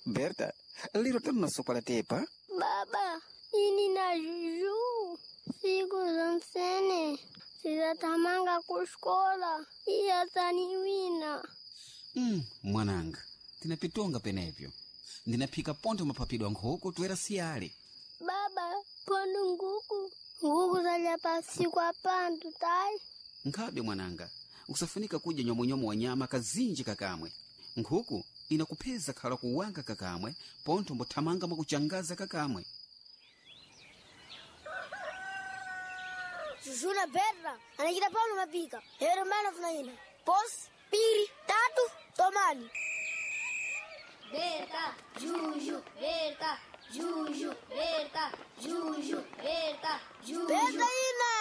Berta, lero tamunasokola tepa. Baba, ini na Juju siku zonsene sizatamanga kuskola iyataniwina. Mwananga, tinapitonga penepyo. Ndinaphika pontho maphapidwa nkhuku toera siyale. Baba, pondo nguku nguku zalya pasiku apandu tayi. Nkhabe mwananga, usafunika kudya nyomonyomo wa nyama kazinji kakamwe. Nkhuku inakupheza khala kuwanga kakamwe, pontho mbothamanga mwakuchangaza kakamwe. Juju na Berta anachita pano mapika lero mana funa ina posi piri tatu tomani. Berta, Juju, Berta, Juju, Berta, Juju, Berta, Juju. Berta ina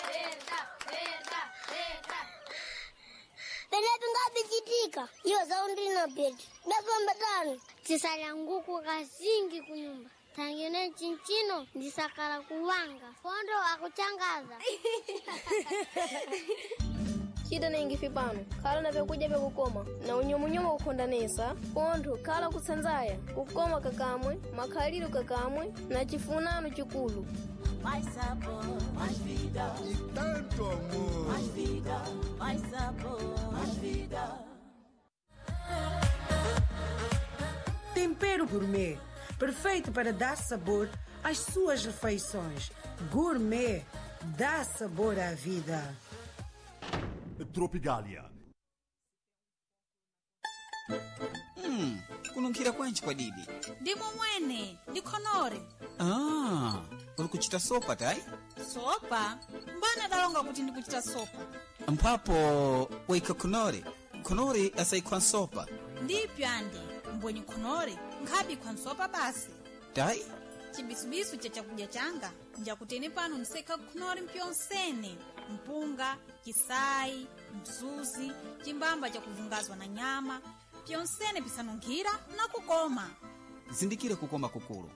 Berta, Berta, Berta. penepo ngabichitika iyo zaundina beti ndafamba tano tisalya nguku kazingi kunyumba tangene chinchino ndisakala kuwanga fondo akuchangaza. Cita nengifi pano khala na vyakudya vyakukoma na unyumunyumu kukhondanesa pontho khala kutsanzaya kukoma kakamwe makhaliro kakamwe na chifunano chikulu. Mais sabor, mais vida. E tanto amor. Mais vida, mais sabor, mais vida. Tempero gourmet, perfeito para dar sabor às suas refeições. Gourmet dá sabor à vida. Tropigalia. Kununkhira kwanji kwa didi. Ndimo mwene, ndikhonore. Ah, uli kuchita sopa tayi? Sopa? Mbana dalonga kuti ndikuchita sopa. Mphapo waikha khonore. Khonore asayikhwa nsopa. Ndipyo andi, mbwenye khonore, nkhabi khwansopa basi. Tayi? Chibisubisu cha chakudya changa, njakutene pano nsekha khonore mpyonsene. Mpunga, chisayi, msuzi, chimbamba chakuvungazwa na nyama, pyonsene pisanunkhira na kukoma. Zindikira kukoma kukulu.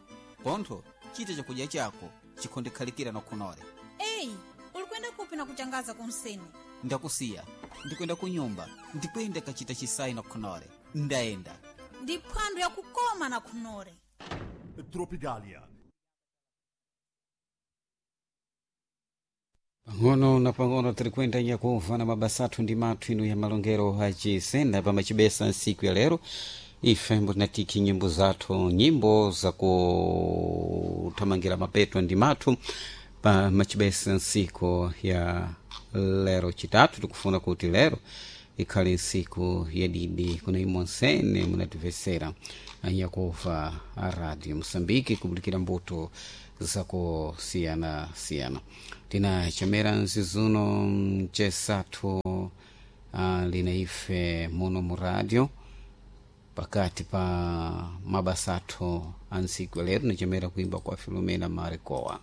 Pontho, chita chakudya chako chikhondekhalikira na khonore. Eyi, ulikwenda kupi na kuchangaza kunsene? Ndakusiya, ndikwenda kunyumba, ndikwenda kachita chisayi na khonore. Ndayenda. Ndi phwando yakukoma na khonore. Tropigalia. Pang'ono na pang'ono tiri kuyenda nyakumva na mabasa athu ndi mathu inu ya malongero acisenda pamacibesa nsiku ya lero. Ife mbutinatiki nyimbo zathu, nyimbo zakuthamangira mapeto ndi mathu pamacibesa nsiku ya lero chitatu. Tikufuna kuti lero ikhale nsiku yadidi kuna imwe nsene munatimvesera anyakuva a Radio Moçambique kubulikira mbuto zakusiyana-siyana. Tinachamera nzizuno mcesathu lina ife muno mu radio pakati pa mabasa athu a ntsiku ya lero. Nachamera kuimba kwa Filomena Marikoa.